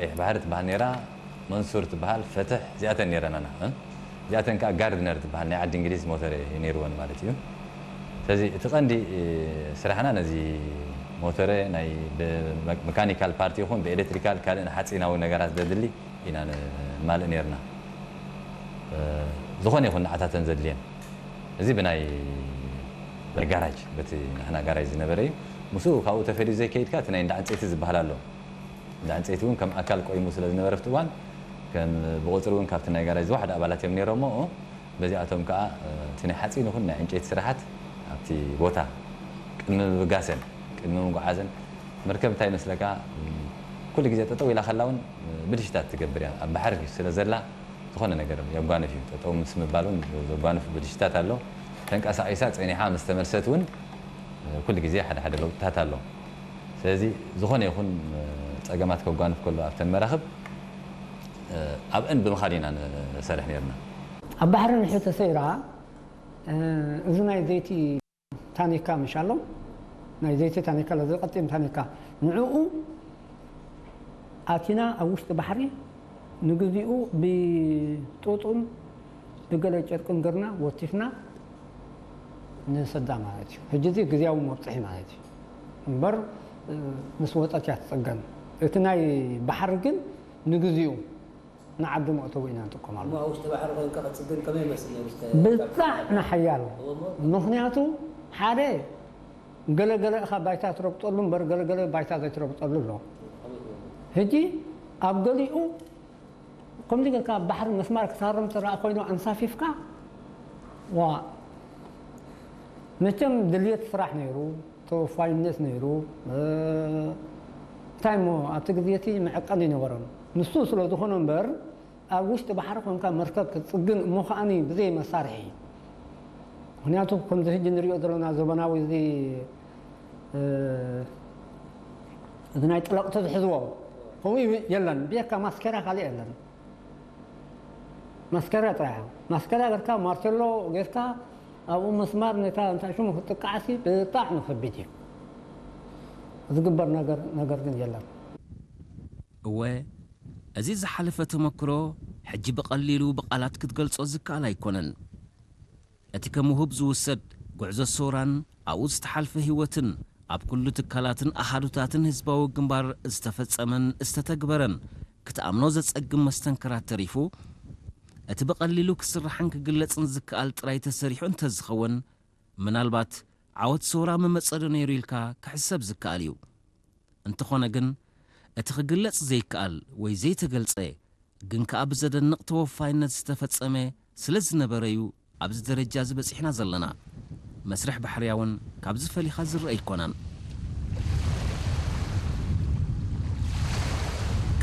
ቀይሕ ባሕሪ ትበሃል ነይራ፣ መንሱር ትበሃል፣ ፈትሕ፣ እዚኣተን ነይረናና። እዚኣተን ከዓ ጋርድነር ትበሃል ናይ ዓዲ እንግሊዝ ሞተረ ነይርወን ማለት እዩ። ስለዚ እቲ ቀንዲ ስራሕና ነዚ ሞተረ ናይ ብመካኒካል ፓርቲ ይኹን ብኤሌክትሪካል ካልእ ሓፂናዊ ነገራት ዘድሊ ኢና ንማልእ ነይርና። ዝኾነ ይኹን ንዓታተን ዘድልየን እዚ ብናይ ጋራጅ በቲ ንሕና ጋራጅ ዝነበረ እዩ። ምስኡ ካብኡ ተፈልዩ ዘይከይድካ እቲ ናይ እንዳ ዕንፀይቲ ዝበሃል ኣሎ። እንዳ ዕንፀይቲ እውን ከም ኣካል ቆይሙ ስለ ዝነበረ ኣብቲ እዋን ከም ብቁፅሪ እውን ካብቲ ናይ ጋራጅ ዝወሓደ ኣባላት እዮም ነይሮሞ። በዚኣቶም ከዓ እቲ ናይ ሓፂን ይኹን ናይ ዕንጨይቲ ስራሓት ኣብቲ ቦታ ቅድሚ ምብጋሰን ቅድሚ ምጉዓዘን መርከብ እንታይ ይመስለካ ኩሉ ግዜ ጠጠው ኢላ ከላ እውን ብልሽታት ትገብር እያ። ኣብ ባሕሪ ስለ ዘላ ዝኾነ ነገር የጓንፍ እዩ። ጠጠው ምስ ምባል እውን ዘጓንፍ ብልሽታት ኣሎ። ተንቀሳቒሳ ፀኒሓ ምስ ተመልሰት እውን ኩሉ ግዜ ሓደ ሓደ ለውጥታት ኣሎ። ስለዚ ዝኾነ ይኹን ፀገማት ከጓንፍ ከሎ ኣብተን መራኽብ ኣብአን ብምኻድ ኢና ንሰርሕ ነርና። ኣብ ባሕሪ ንሕሪ ተሰይራ እዚ ናይ ዘይቲ ታኒካ ምሽ ኣሎ፣ ናይ ዘይቲ ታኒካ ኣሎ፣ ዝቐጢን ታኒካ፣ ንዕኡ ኣቲና ኣብ ውሽጢ ባሕሪ ንግዚኡ ብጡጥን ብገለ ጨርቅን ገርና ወቲፍና ንሰዳ ማለት እዩ። ሕጂ እዚ ግዜያዊ መብፅሒ ማለት እዩ እምበር ምስ ወፀት እያ ትፀገም። እቲ ናይ ባሕሪ ግን ንግዚኡ ንዓዲ መእተዊ ኢና ንጥቀመሉ። እሞ ኣብ ውሽጢ ባሕሪ ኮይንካ ክትፅግን ከመይ ይመስል ነይሩ? እስከ ብጣዕሚ ሓያል። እሞ ምኽንያቱ ሓደ ገለገለ እኻ ባይታ ትረግጠሉ እምበር ገለገለ ባይታ ዘይትረግጠሉ ኣሎ። ሕጂ ኣብ ገሊኡ ከምዚ ጌርካ ባሕሪ መስማር ክሳረም ዝረኣ ኮይኑ ኣንሳፊፍካ ዋ መቸም ድልየት ስራሕ ነይሩ፣ ተወፋይነት ነይሩ። እንታይ እሞ ኣብቲ ግዜ እቲ መዕቀኒ ኣይነበሮን። ንሱ ስለ ዝኾነ እምበር ኣብ ውሽጢ ባሕሪ ኮንካ መርከብ ክትፅግን እሞ ከዓኒ ብዘይ መሳርሒ ምክንያቱ ከምዚ ሕጂ ንሪኦ ዘለና ዘበናዊ እዚ እዚ ናይ ጥለቕቲ ዝሕዝዎ ከምኡ የለን። ብየካ ማስኬራ ካልእ የለን። ማስኬራ ጥራሕ ማስኬራ ጌርካ ማርቴሎ ጌርካ ኣብኡ መስማር ነታ እንታይ ሽሙ ክትጥቃዕሲ ብጣዕሚ ከቢድ እዩ። ዝግበር ነገር ነገር ግን የለን። እወ፣ እዚ ዝሓለፈ ተመክሮ ሕጂ ብቐሊሉ ብቓላት ክትገልጾ ዝከኣል ኣይኮነን። እቲ ከም ውሁብ ዝውሰድ ጉዕዞ ሰውራን ኣብኡ ዝተሓልፈ ህይወትን ኣብ ኩሉ ትካላትን ኣሃዱታትን ህዝባዊ ግንባር ዝተፈጸመን ዝተተግበረን ክትኣምኖ ዘጸግም መስተንክራት ተሪፉ፣ እቲ ብቐሊሉ ክስራሕን ክግለጽን ዝከኣል ጥራይ ተሰሪሑ እንተዝኸውን፣ ምናልባት ዓወት ሰውራ ምመጸዶ ነይሩ ኢልካ ክሕሰብ ዝከኣል እዩ። እንተኾነ ግን፣ እቲ ክግለጽ ዘይከኣል ወይ ዘይተገልጸ ግን ከኣ ብዘደንቕ ተወፋይነት ዝተፈጸመ ስለ ዝነበረ'ዩ ኣብዚ ደረጃ እዚ በጺሕና ዘለና። መስርሕ ባሕርያ እውን ካብዚ ፈሊኻ ዝረአ ኣይኮነን።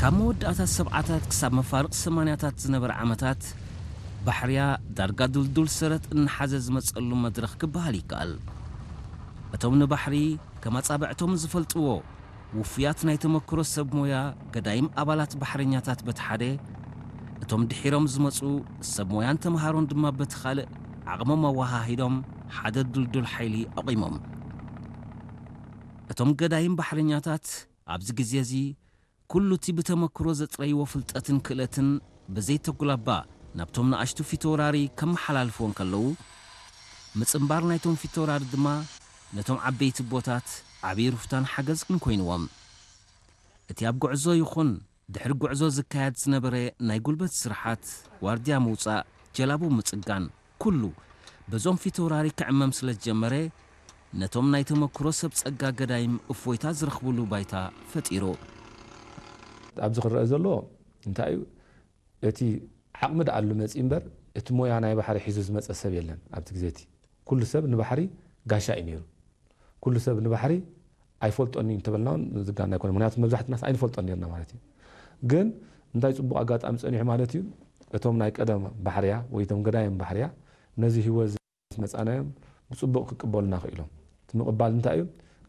ካብ መወዳእታ ሰብዓታት ክሳብ መፋርቕ ሰማንያታት ዝነበረ ዓመታት፣ ባሕርያ ዳርጋ ድልዱል ሰረት እናሓዘ ዝመጸሉ መድረኽ ክበሃል ይከኣል። እቶም ንባሕሪ ከም ኣጻብዕቶም ዝፈልጥዎ ውፉያት ናይ ተመክሮ ሰብ ሞያ ገዳይም ኣባላት ባሕረኛታት በቲ ሓደ፣ እቶም ድሒሮም ዝመጹ ሰብ ሞያን ተምሃሮን ድማ በቲ ካልእ ዓቕሞም ኣወሃሂዶም ሓደ ድልዱል ሓይሊ ኣቑሞም። እቶም ገዳይም ባሕረኛታት ኣብዚ ግዜ እዚ ኩሉ እቲ ብተመክሮ ዘጥረይዎ ፍልጠትን ክእለትን ብዘይተጉላባ ናብቶም ንኣሽቱ ፊተውራሪ ከመሓላልፍዎ እንከለዉ፣ ምጽንባር ናይቶም ፊተውራሪ ድማ ነቶም ዓበይቲ ኣቦታት ዓብዪ ሩፍታን ሓገዝን ኮይንዎም። እቲ ኣብ ጉዕዞ ይኹን ድሕሪ ጉዕዞ ዝካየድ ዝነበረ ናይ ጉልበት ስርሓት፣ ዋርድያ ምውጻእ፣ ጀላቡ ምጽጋን፣ ኩሉ በዞም ፊተውራሪ ክዕመም ስለ ዝጀመረ፣ ነቶም ናይ ተመክሮ ሰብ ጸጋ ገዳይም እፎይታ ዝረኽብሉ ባይታ ፈጢሩ። ኣብዚ ክረአ ዘለዎ እንታይ እዩ? እቲ ዓቕሚ ደኣ ኣሎ መጺኡ እምበር፣ እቲ ሞያ ናይ ባሕሪ ሒዙ ዝመጸ ሰብ የለን። ኣብቲ ግዜ እቲ ኩሉ ሰብ ንባሕሪ ጋሻ እዩ ነይሩ። ኩሉ ሰብ ንባሕሪ ኣይፈልጦን እዩ እንተበልና እውን ዝጋነ ኣይኮነን። ምኽንያቱ መብዛሕትናስ ኣይንፈልጦን ነርና ማለት እዩ። ግን እንታይ ጽቡቕ ኣጋጣሚ ጸኒሑ ማለት እዩ፣ እቶም ናይ ቀደም ባሕርያ ወይ እቶም ገዳይም ባሕርያ ነዚ ህይወት እዚ ምስ መጻናዮም ብጽቡቕ ክቅበሉና ክኢሎም። እቲ ምቕባል እንታይ እዩ?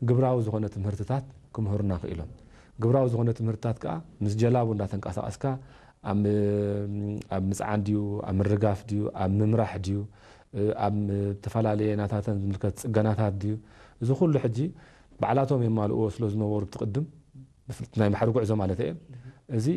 ግብራዊ ዝኾነ ትምህርትታት ክምህሩና ክኢሎም። ግብራዊ ዝኾነ ትምህርትታት ከኣ ምስ ጀላቡ እንዳተንቀሳቐስካ ኣብ ኣብ ምጽዓን ድዩ፣ ኣብ ምርጋፍ ድዩ፣ ኣብ ምምራሕ ድዩ፣ ኣብ ዝተፈላለየ ናታተን ዝምልከት ጽገናታት ድዩ፣ እዚ ኩሉ ሕጂ ባዕላቶም የማልእዎ ስለ ዝነበሩ ብቲ ቅድም ናይ ባሕሪ ጉዕዞ ማለት እየ። እዚ